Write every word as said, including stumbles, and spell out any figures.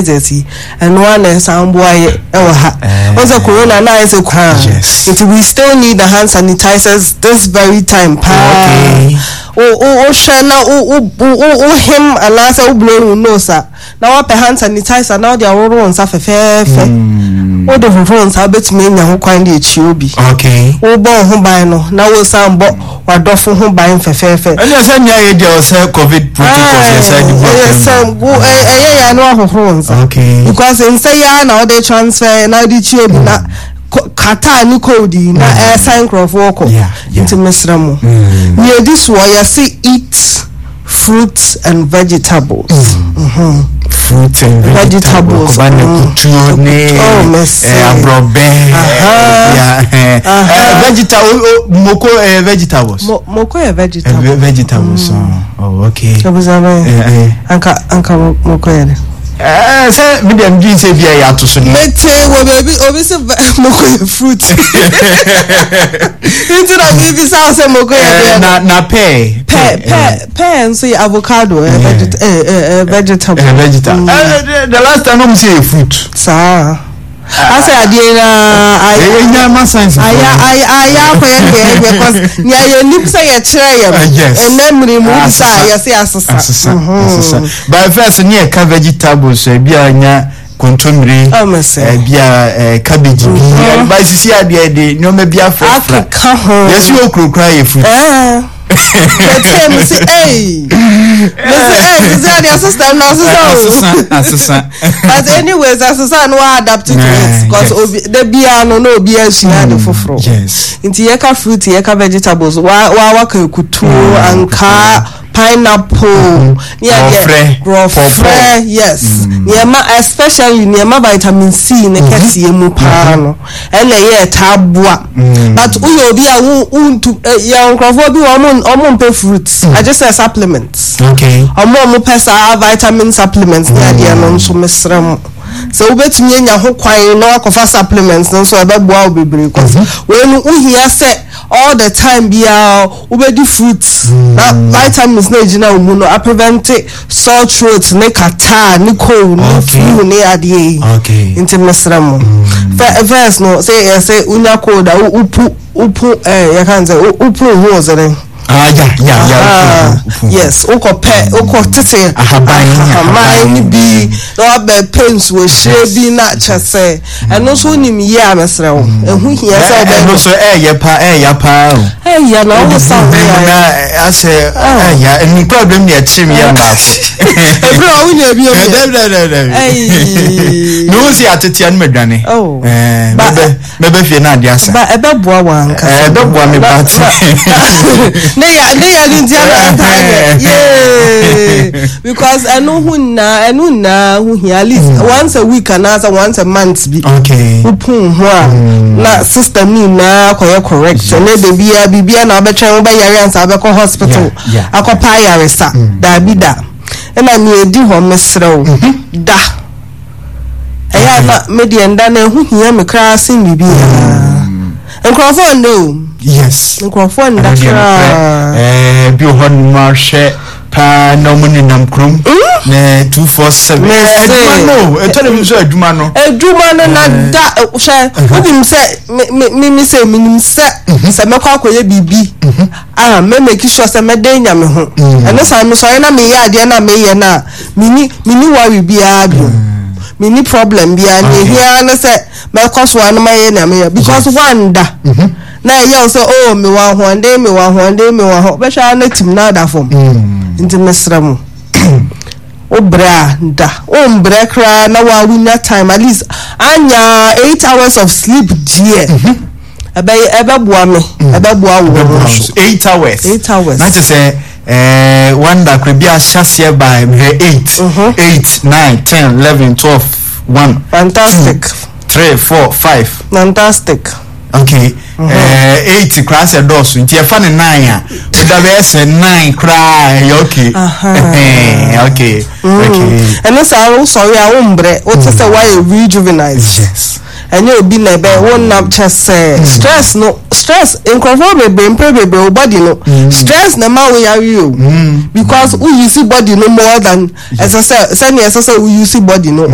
sanitizers yi, ɛno ara na ɛsan boa yɛ ɛwɔ ha. Wɔn sɛ corona na ayɛ sɛ kwan. Yes. Nti we still need the hand sanitizers this very time paa. Okay. O o wohwɛ na o o o o hem anaasɛ o blow wo nose a, na wapɛ hand sanitizer na wode ahohoro wo nsa fɛfɛɛfɛ. Wode hohoro wo nsa, wobɛtumi anya ho kwan de akyi obi. Okay wobɔ wo ho ban no na wosan bɔ w'adɔfo ho ban fɛfɛɛfɛ. Ɛnna sɛ nea yɛ deɛ ɔsɛ COVID protocols yɛ sɛ de bu ɛyɛ sɛ wo ɛ- ɛyɛ yɛ no ahohoro wo nsa okay because nsa yi ara na wɔde transfer na wɔde kyi obi na ko- catarrh ne cold yi na ɛsan nkurɔfoɔ kɔ. Yeah, yeah. Nti mesrɛ mo, Mm. nea edi soɔ, yɛse eat fruits and vegetables. Mhm. Fruits and vegetables. Vegetables, kɔba ne mm. kutuo ne Oh, mercy. eh, aborɔbɛ. Aha. eh, eh, Aha. eh, vegetable moko, eh, vegetables. Mo moko yɛ Eh, vegetable. ve- vegetables oh, oh okay. Ebusabɛ Eh, eh. anka anka mo- moko yɛ de. Eh, sɛ mi deɛ mi dwi sɛ bi a yɛ ato so ne. Mete wɔ baabi obi sɛ ve- moko yɛ fruit, nti na biribi sa sɛ moko yɛ Eh, deɛ. na na pear. Pear, pear, pear nso yɛ avocado, ɛ veget ɛ ɛ ɛ vegetable. Eh, vegetable. Eh, the, the last time ɔmo sɛ yɛ fruit. Saa asɛ adeɛ na ɛyɛ nyama science. Ayɛ ayɛ ayɛ akɔyɛ deɛ ɛyɛ cause nea yɛnim sɛ yɛkyerɛ yɛ no Uh, yes. ɛnɛ mmiri mu bisa Asesa. yɛsɛ asesa. Asesa, asesa. But first ne yɛ ka vegetables, ebi a nya kontomire, Oh, mercy. ebi a eh, cabbage bi, but sisi adeɛ de nneɛma bi afrafra. Akeka ho. Yɛsi okuro kura yɛ fruit. Ɛɛ mete me se ɛy me se ɛy sisi adeɛ system na asesa o. Asesa, asesa. But anyways, asesa no wa adapt to Yeah, it because yes. obi de bia no na obi asua ade foforɔ. Yes nti yɛka fruit, yɛka vegetables, wa wa waka ekutuo, ankaa, pineapple ne adeɛ. Brɔfrɛ, Brɔfrɛ. pawpaw. Yes, nneɛma, especially nneɛma vitamin C ne kɛseɛ mu paa no, ɛna ɛyɛ ɛtaa boa. But woyɛ obi a wo wontu ɛ yɛ nkurɔfoɔ bi wɔ ɔmo ɔmo mpɛ fruits agye sɛ supplements. Okay ɔmo a ɔmo pɛ saa vitamin supplements ne adeɛ no nso, mesrɛ mo sɛ wobɛtumi anya ho kwan na wakɔfa supplements no nso, ɛbɛboa wo bebree cause wei no wohia sɛ all the time biara wobɛdi fruits na vitamins na egyina wo mu no aprevent sore throat ne catarrh ne cold ne Okay. flu ne adeɛ yi. Okay nti mesrɛ mo, Fɛ- first no sɛ yɛsɛ wonya cold a wo- wopu wopu ɛɛ yɛka n sɛ wo- wopu ho wɔ sɛ Ah, ya ya ya Ah, yes, wokɔ pɛ, wokɔ tete Ahaban, ahaban ne bi na wabɛ pɛ nsuohyire bi na kyɛ sɛ ɛno nso wonim yie a, mesrɛ wo, ɛho hia sɛ ɛno wobɛyɛ. nso ɛyɛ pa, ɛyɛ paa o. Ɛyɛ na wo sa wo na yɛ. Asɛ ɛyɛ ɛnukura bɛm ne ɛkyim yɛ mbaako. Ɛfiri a wonya bi omi. Dɛbi. Ɛyi. Ne wo si atetea no madwane. Oh. Ɛɛ, Ba- mɛbɛ mɛbɛ fie na ade asa. Ba ɛbɛboa wɔ ankasa. Ɛɛ, ɛbɛboa me ba te. ne ya ne ya ne nti ana ɛta yɛ yee because ɛno ho nyinaa, ɛno nyinaa ho hia at least once a week anaasɛ once a month bi. Okay wopun ho a na system ni nyinaa kɔyɛ correct. Ɛnɛ de bia bibia na wobɛtwɛn wobɛyare ansa wobɛkɔ hospital Yeah, yeah. akɔpa ayaresa, daabi da. Ɛna nea ɛdi hɔ, mesrɛ wo, da. Ɛyɛ a na medeɛ nda no ɛho hia me koraa sen biribiaa. Nkurɔfoɔ nda o. Yes nkurɔfoɔ nda ɛno deɛ nokorɛ. koraa. Ɛɛ, bi wɔ hɔ nom ahwɛ paa na ɔmo nenam kurom na two four seven. Mese. Adwuma no, ɛtɔ de bi nso adwuma no. Adwuma no na da eh, hwɛ, wonim sɛ me me me me sɛ menim sɛ sɛ mɛkɔ akɔyɛ biribi a, mɛ make sure sɛ mɛda nya me ho. Ɛno saa mesɔre na meyɛ adeɛ na meyɛ no a, meni meni worry biara bio, meni problem biara. Nea ehia ne sɛ mɛkɔ so a no mayɛ nea meyɛ because wanda na ɛyɛ wo sɛ, oh, mewɔ ahoɔden, mewɔ ahoɔden, mewɔ aho bɛhwɛ a na tim na ada fam. Nti mesrɛ mo, wobrɛ a da, wombrɛ koraa na waa wonya time at least anya eight hours of sleep deɛ, ɛbɛyɛ, ɛbɛboa me, ɛbɛboa wo ɛbɛboa nso. nso. Eight hours. Eight hours. Na kyerɛ sɛ ɛɛ wanda kora bi ahyɛ aseɛ by mehwɛ eight, eight, nine, ten, eleven, twelve, one, Fantastic. three, four, five. Fantastic. Okay, ɛɛ eight koraa sɛ dɔɔso, nti yɛfa ne nine a, woda bɛyɛ sɛ nine koraa ɛyɛ okay. Aha. Ɛhɛn, okay okay Ɛno saa wosɔre a wombrɛ, wote sɛ woayɛ rejuvenized. Yes ɛnyɛ obi na ɛbɛ wonnam kyɛ sɛ stress no, stress nkurɔfoɔ bebree mpɛ bebree wo body no, stress na ɛma wo yare o, because wo use body no more than ɛsɛ sɛ sɛnea ɛsɛ sɛ wo use body no.